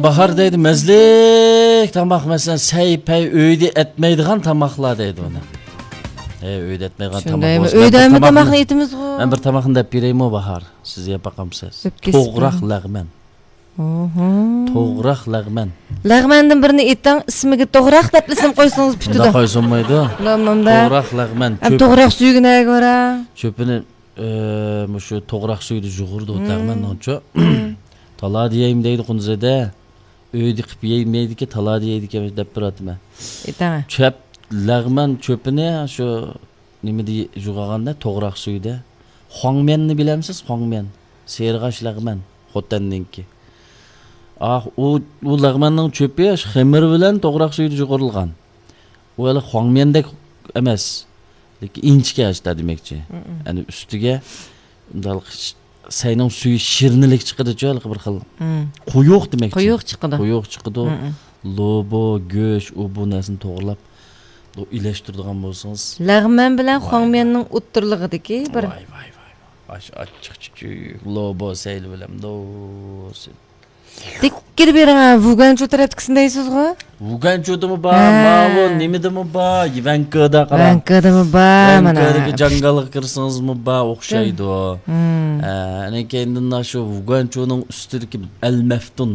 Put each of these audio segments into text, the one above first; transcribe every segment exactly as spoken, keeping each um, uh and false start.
باھار دەيدۇ، مەززىلىك تاماق، مەسىلەن، سەي-پەي ئۆيدە ئەتمەيدىغان تاماقلار دەيدۇ ئۇنى. ھەي، ئۆيدە ئەتمەيدىغان تاماق شۇندايمۇ؟ بولسا، مەن ئۆيدە بىر ھەممە تاماقنى، تاماقنى ئېتىمىزغۇ. مەن بىر تاماقنى دەپ بېرەيمۇ، باھار؟ سىز يەپ باقامسىز؟ ئۆپكىسى توغراق بار. لەغمەن. ئوھو. توغراق لەغمەن. لەغمەندىن بىرنى ئېتىڭ، ئىسمىگە توغراق دەپ ئىسىم قويسىڭىز پۈتىدۇ. شۇنداق قويسا بولمايدۇ. مۇندا، مۇندا. توغراق لەغمەن. ھەم چۆپ-، توغراق سۈيىگە نەگە بارا؟ چۆپىنى، ئە، مۇشۇ توغراق سۈيىدە يۇغۇرىدۇ، مم. لەغمەننىڭچۇ. مم. تالا دېيەيمۇ دەيدۇ قۇندىزىدە. ئۆيدە قىلىپ يەيمەيدىكەن، تالا دېيەيدىكەن دەپ بېرىۋاتىمەن. ئېيتاڭە. چۆپ، لەغمەن چۆپىنى شۇ نېمىدە يۇغىغاندا، توغراق سۈيىدە. خۇاڭميەننى بىلەمسىز؟ خۇاڭميەن. سېرىغاچ لەغمەن. خوتەننىڭكى. ئاھ، ئۇ، ئۇ لەغمەننىڭ چۆپى شۇ خېمىر بىلەن توغراق سۈيىدە يۇغۇرۇلغان. ئۇ ھېلى خۇاڭميەندەك ئەمەس. لېكىن ئىنچىكە ئاشتا دېمەكچى. مم. يەنى ئۈستىگە مۇنداق سەينىڭ سۈيى شىرنىلىك چىقىدىچۇ، ھېلىقى بىر خىل. مم. قويۇق دېمەكچى. قويۇق چىقىدۇ. قويۇق چىقىدۇ. مم. لوبو، گۆش، ئۇ بۇ نەرسىنى توغرىلاپ، بۇ ئىلەشتۈرىدىغان بولسىڭىز. لەغمەن بىلەن ۋاي، خۇاڭميەننىڭ ۋاي. ئوتتۇرىلىقىدىكى بىر ۋاي، ۋاي، ۋاي، ۋاي. ئاش ئاچچىق چۈچۈك، لوبو سەيلى بىلەن دوسى. دىككىدە بېرىڭ، ھە، ۋۇگەنچۇ تەرەپتىكىسىنى دەيسىزغۇ؟ ۋۇگەنچۇدىمۇ بار، ھە. ماۋۇ نېمىدىمۇ بار، ۋەنكىدا قاراڭ. ۋەنكىدىمۇ بار، مانا. ۋەنكىدىكى جاڭگالغا كىرسىڭىزمۇ بار، ئوخشايدۇ. مم. ھە، ئەنە كەينىدىن شۇ ۋۇگەنچۇنىڭ ئۈستىدىكى ئەل مەفتۇن.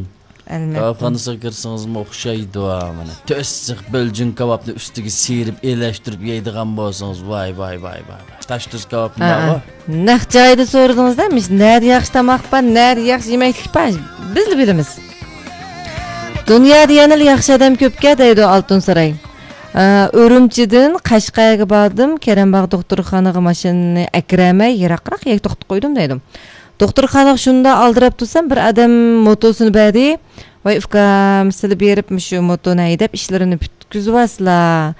ئەل مەفتۇن. كاۋاپخانىسىغا كىرسىڭىزمۇ ئوخشايدۇ، مانا. تۆت سىخ بۆلجۈن كاۋاپنى ئۈستىگە سىيرىپ، ئېلەشتۈرۈپ يەيدىغان بولسىڭىز، ۋاي، ۋاي، ۋاي، ۋاي، ۋاي. تاشتۇز كاۋاپمۇ ھە، بارغۇ. ھە. نەق جايىدا سورىدىڭىز-دە، مۇشۇ نەدە ياخشى تاماق بار، نەدە ياخشى يېمەكلىك بار، بىزلا بىلىمىز. دۇنيادا يەنىلا ياخشى ئادەم كۆپكەن دەيدۇ ئالتۇن ساراي. ئە، ئۈرۈمچىدىن قەشقەرگە باردىم، كېرەمباغ دوختۇرخانىغا ماشىنىنى ئەكىرەلمەي يىراقراق يەرگە توختىتىپ قويدۇم دەيدۇ. دوختۇرخانىغا شۇنداق ئالدىراپ تۇرسام، بىر ئادەم موتوسىنى بەردى. ۋاي ئۇكام، سىلە بېرىپ مۇشۇ موتونى ھەيدەپ ئىشلىرىنى پۈتكۈزۈۋالسىلا.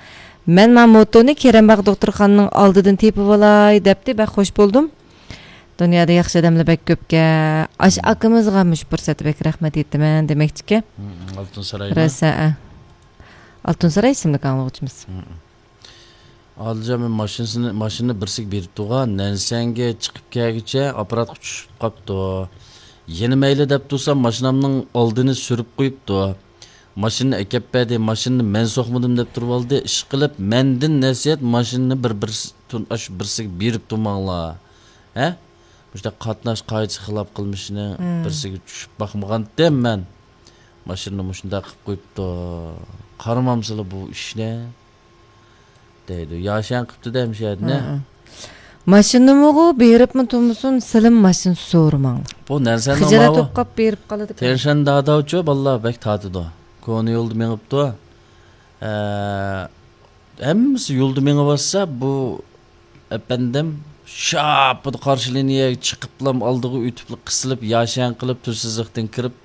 مەن ما موتونى كېرەمباغ دوختۇرخانىنىڭ ئالدىدىن تېپىۋالاي دەپتى، بەك خوش بولدۇم. دۇنيادا ياخشى ئادەملەر بەك كۆپكەن. ئاشۇ ئاكىمىزغا مۇشۇ پۇرسەتتە بەك رەھمەت ئېيتىمەن دېمەكچىكەن. مم، ئالتۇن سارايمۇ؟ رەسە، ئە. ئالتۇن ساراي ئىسىملىك ئاڭلىغۇچىمىز. مم. ئادىلجان، مەن ماشىنىسىنى، ماشىنىنى بىرسىگە بېرىپ تۇرغان، نەنسەنگە چىقىپ كەلگۈچە ئاپپاراتقا چۈشۈپ قاپتۇ. يەنە مەيلى دەپ تۇرسام، ماشىنامنىڭ ئالدىنى سۈرۈپ قويۇپتۇ. ماشىنىنى ئەكەپ بەردى، ماشىنىنى مەن سوقمىدىم دەپ تۇرۇۋالدى. ئىشقىلىپ، مەندىن نەسىھەت، ماشىنىنى بىر، بىر، تۇن-، ئاشۇ بىرسىگە بېرىپ تۇرماڭلار. ھە؟ مۇشۇنداق قاتناش قائىدىسىگە خىلاپ قىلمىشىنى مم. بىرسىگە چۈشۈپ باقمىغانتىم مەن. ماشىنىنى مۇشۇنداق قىلىپ قويۇپتۇ. قارىمامسىلا بۇ ئىشنى؟ دەيدۇ. ياشەن قىپتۇ-دە، مۇشۇ يەردىن. ھە، ھە. ماشىنىمۇغۇ بېرىپمۇ تۇرمىسۇن، سىلىم ماشىنا سورىماڭ. بۇ نەرسەنىڭ خىجالەت ماۋۇ بولۇپ قاپ بېرىپ قالىدىكەن. تيەنشەن داداۋچۇ بالىلار بەك تارتىدۇ. كونا يولدا مېڭىپتۇ. ئە، ھەممىسى يولدا مېڭىۋاتسا، بۇ ئەپەندىم شاپپىدە قارشى لىنىيەگە چىقىپلا ئالدىغا ئۆتۈپلا قىسىلىپ، ياشەن قىلىپ، تۈرسىزلىقتىن كىرىپ،